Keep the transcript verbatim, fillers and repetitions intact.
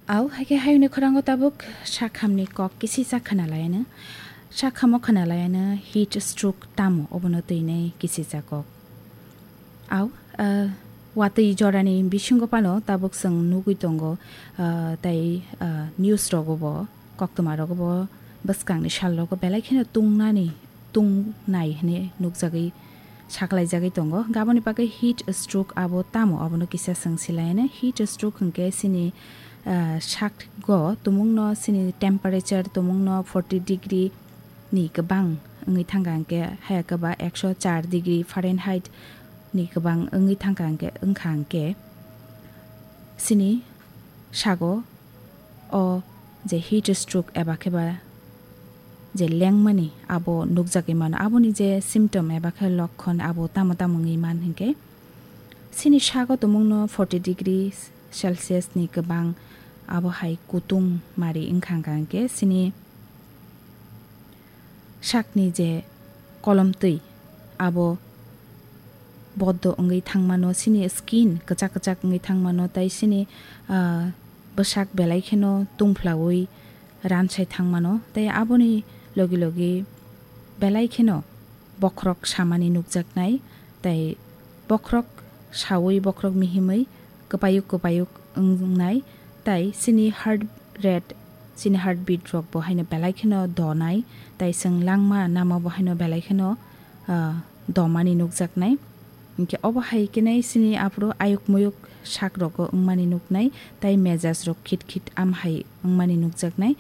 Au, haikhe hayungni khorango tabuk sakhamni kok kisisa khwnalaiano. Sakhamo khwnalaiano heat stroke tamo obono twinai kisisa kok. Au, ah, watwi jorani bisingo phano tabuk chwng nugwi tongo, ah, tei, ah, news rogo bo, koktwma rogo bo bwskangni sal rogo belai kheno tungnani, tungnai hwnwi nukjagwi saklaijagwi tongo. Gaboni bagwi heat stroke abo tamo, abono kisa chwng silaino. Heat stroke hwnkhe chini, ah, sakgo tumungno, chini temperature tumungno forty degree ni kwbang wngwi thangkha hwnkhe, haya kwba ekso char degree Fahrenheit ni kwbang wngwi thangkha hwnkhe, wngkha hwnkhe, chini sago o je heat stroke eba khe ba je lengmani abo nukjagwi mano. Aboni je symptom eba khe lokkon abo tamo tamo wngwi man hinkhe, chini sago tumungno forty degree Celsius ni kwbang abo hai kutung mari wngkha hwnkha hwnkhe chini sakni je kolomtwi abo boddo wngwi thangmano, chini skin kwchak kwchak wngwi thangmano, tei chini, ah, bwsak belai kheno tungphlaui ransai thangmano, tei aboni logi logi belai kheno bokhorok samani nukjaknai, tei bokhorok saui, bokhorok mihimwi kwpayuk kwpayuk wngnai, tei chini heart rate, chini heartbeat rok bo haino belai kheno donai, tei chwng langma namo bo haino belai kheno, ah, domani nukjaknai. Hinkhe obo hai khe nai chini aphuru ayuk muyuk sak rogo wngmani nuknai, tei mejaj rok khit khit am hai wngmani nukjaknai.